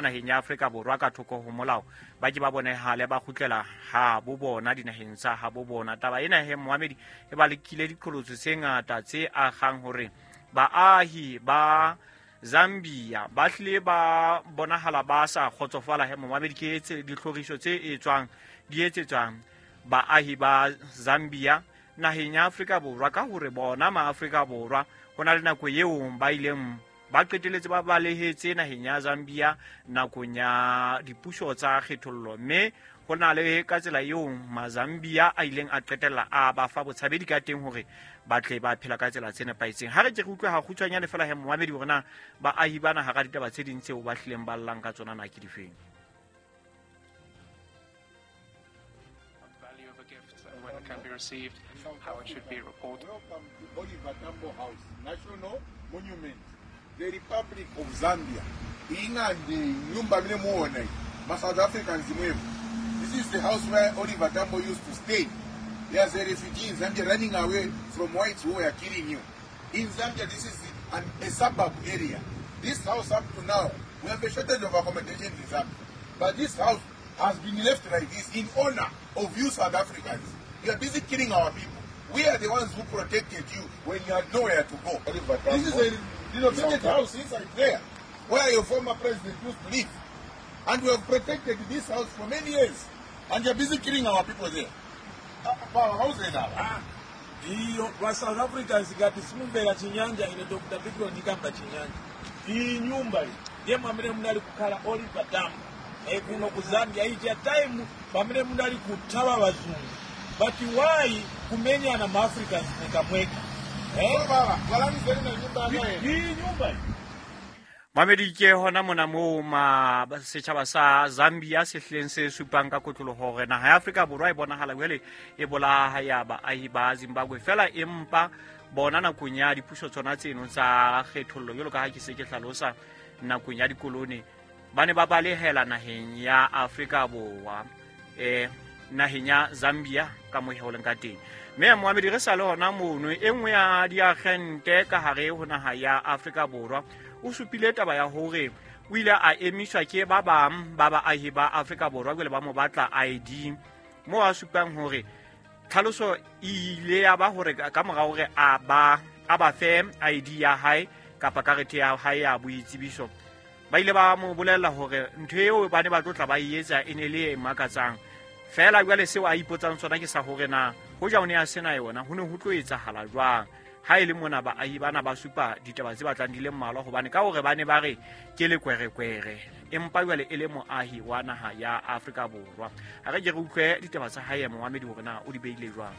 Naheng ya Afrika Borwa ka thoko ho molao ba ke ba bonehale ba kgutlela ha bo bona dinaheng tsa ha bo bona. Taba ena he moamedi e ba lekile diqholotso tse ngata tse agang hore baahi ba Zambia ba hlile ba bonahala ba sa kgotsofala. He momamedi, ke tse ditlhoriso tse etswang di etsetswang baahi ba Zambia naheng ya Afrika Borwa, ka hore bona maAfrika Borwa ho na le nako eo ba ileng ba qeteletse ba balehetse naheng ya Zambia nakong ya dipuso tsa kgethollo, mme ho na le ka tsela eo Mazambia a ileng a qetella a ba fa botshabedi ka teng hore ba tle ba phela ka tsela tse nepahetseng. Ha re ke re utlwe ha kgutshwanyane fela he momamedi hore na baahi bana hara ditaba tse ding tseo ba hlileng ba llang ka tsona na ke difeng. Value of a gift and when it can be received, how it should be reported. Welcome to Oliver Tambo House, National Monument, the Republic of Zambia. Ingande nyumba mine muona iyi, ma South Africans imwepo. This is the house where Oliver Tambo used to stay. There's a refugee in Zambia running away from whites who were killing you. In Zambia, this is a suburb area. This house up to now, we have a shortage of accommodation in Zambia. But this house has been left like this in honor of you South Africans. You are busy killing our people. We are the ones who protected you when you had nowhere to go. This is a renovated house inside there, where your former president used to live. And we have protected this house for many years. And you're busy killing our people there. House now. Iyo va South Africans, ngati simumvera Chinyanja, ine Dr Bikro ndikamba Chinyanja. Iyi nyumba iyi ndiye mwamene munali kukhala Oliver Tambo kuno ku Zambia ija time pamene munali kuthawa vazungu. But why kumenyana ma Africans mwekamweka, eh? Iyi nyumba iyi. Mamedi, ke hona mona moo ma setjhaba sa Zambia se hlileng se supang ka kotloloho hore naha ya Afrika Borwa e bonahala jwale e bolaya baahi ba Zimbabwe fela, empa bona nakong ya dipuso tsona tseno tsa kgethollo, jwalo ka ha ke se ke hlalosa, nakong ya dikolone ba ne ba balehela naheng ya Afrika Borwa, naheng ya Zambia ka mo leng ka teng. Mme moamedi, re sa le hona mono, e nngwe ya diagente ka hare ho naha ya Afrika Borwa o supile taba ya hore o ile a emiswa ke ba bang ba baahi ba Afrika Borwa jwale ba mo batla ID, mo a supang hore tlhaloso e ile ya ba hore ka mora hore a ba fe ID ya hae kapa karete ya hae ya boitsebiso, ba ile ba mo bolella hore ntho eo ba ne ba tlo tla ba e etsa e ne le e makatsang fela. Jwale seo a ipotsang sona ke sa hore na hoja o ne a sena yona ho ne ho tlo etsahala jwang, ha e le mona baahi bana ba supa ditaba tse batlang di le mmalwa, hobane ka hore ba ne ba re ke lekwerekwere, empa jwale e le moahi wa naha ya Afrika Borwa. Ha re ke re utlwe ditaba tsa hae momamedi hore na o di beile jwang.